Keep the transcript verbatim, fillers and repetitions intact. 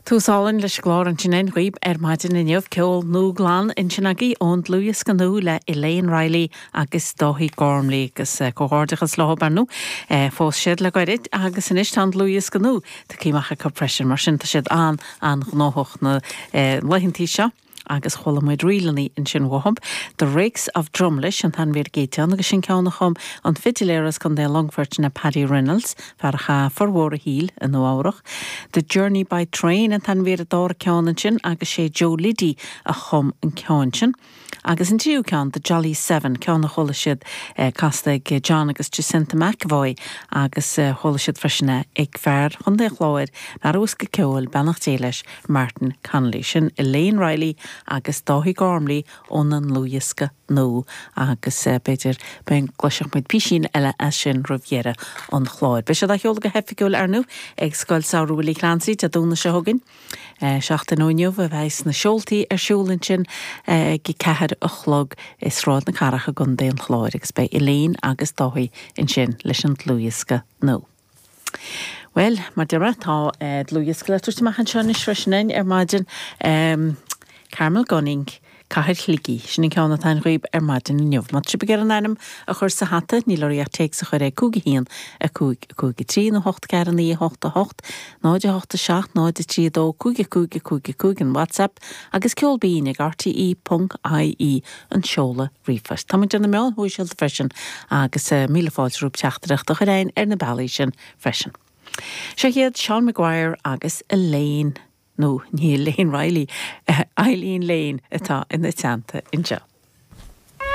Tús álainn leis an gclár ansin againn dhaoib ar maidin inniu ceol nua glan ansin agaibh ón dlúthdhiosca nua le Elaine Riley agus Dáithí Gormley agus eh, comhghairdeachas leo ar ndóigh eh, phós siad le gairid agus anois tá an dlúthdhiosca nua tagtha amach acu freisin mar sin tá siad an an-ghnóthach na eh, laethantaí seo. agus chuala muid ríleanna ansin uathub, The Rakes of Drumlish an t-ainm ar an gcéad cheann agus sin ceann a chum an fidiléir as Contae Longfoirt na Paddy Reynolds, fear a chaith formhór a shaoil i Nua-Eabhrac. The Journey by Train an t-ainm ar an dara ceann ansin agus sé Joe Liddy a chum an ceann sin. Agus an tríú ceann The Jolly Seven ceann a chuala siad eh, casta ag John agus Jacinta McAvoy agus eh, chuala siad freisin ag fear Chontae an Chláir ar ceol beannacht Dé leis Martin Connolly sin Elaine Riley agus Dáithí Gormley óna ndlúthdhiosca nua agus eh, b'fhéidir gcloisfidh muid píosaín eile as sin roimh dheireadh an chláir. Beidh siad á cheol go hoifigiúil ar ndóigh ag Scoil Samhraidh Willie Clancy Dé Domhnaigh seo chugainn. Eh, seachtain ó inniu a bheidh na seoltaí ar siúl ansin ag a ceathair a chlog i Sráid na Cathrach i gContae an Chláir agus beidh Elaine agus Dáithí ansin leis an dlúthdhiosca nua. Well, mar deir tá eh, dlúthdhiosca le tabhairt amach anseo anois freisin ar maidin um, Carmel Gunning Cathair Shligigh sin an ceann atá agaibh ar maidin inniu. Má tá sibh ag iarraidh ainm a chur sa hata níl oraibh ach téacs a chur ag cúig a haon a cúig a cúig a trí nó hocht ceathair naoi hocht a hocht, náid a hocht a seacht náid a trí dó cúig a cúig a cúig a cúig an WhatsApp agus ceol binn ag RTE ponc IE an seoladh ríomhphoist. Tá muid ar na meáin shóisialta freisin agus uh, míle fáilte romhaibh teachtaireacht a chur chugainn ar na bealaí sin freisin. Seo iad Sean Maguire agus Elaine nó ní Elaine Riley, Eileen Lane atá ina teannta anseo.